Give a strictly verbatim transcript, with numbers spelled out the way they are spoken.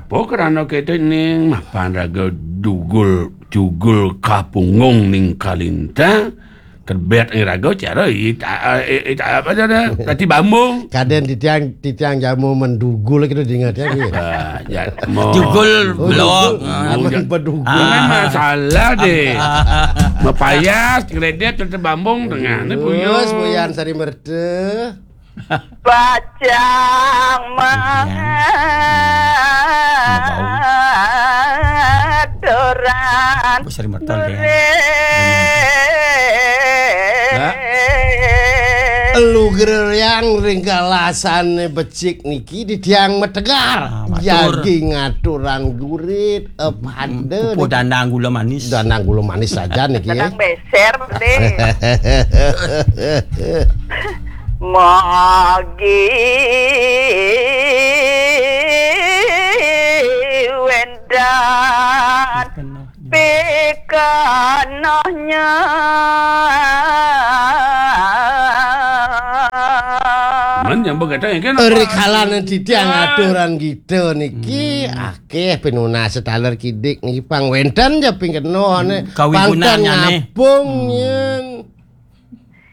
Apa krana keto ning mapan raga dugul jugul kapunggung ning kalintang, terbet ing raga cara ita, ita apa jane? Tati bambung. Kaden titiang, titiang jamu mendugul gitu diingat ya, gitu. Ah, ya, mau. Jugul Oh, belok. Jugul. Ah. Aman bedugul. Ah. Memang salah deh. Mapayas, kredit, tati bambung tengah. Ini Terus, buyur. Buyan Sari Merta. Bajang mangaturan. Apa sari mertal, ya? Gurit. Ya. Luger yang ring kalasane becik niki di tiang metegar. Ah, matur. Jagi ngaturan gurit, eh, pada Pupuh niki. Dandang gula manis. Dandang gula manis saja niki, ya. Dandang beser, deh. Magi wendan pikenohnya. Men yang begadang yang kena. Rikalanan titiang aturan kita niki, Hmm. akeh pinunas taler kidik niki pang wenten ja ping kena ne. Hmm, kawigunannya ne. Pangtan ngapung Hmm. yen.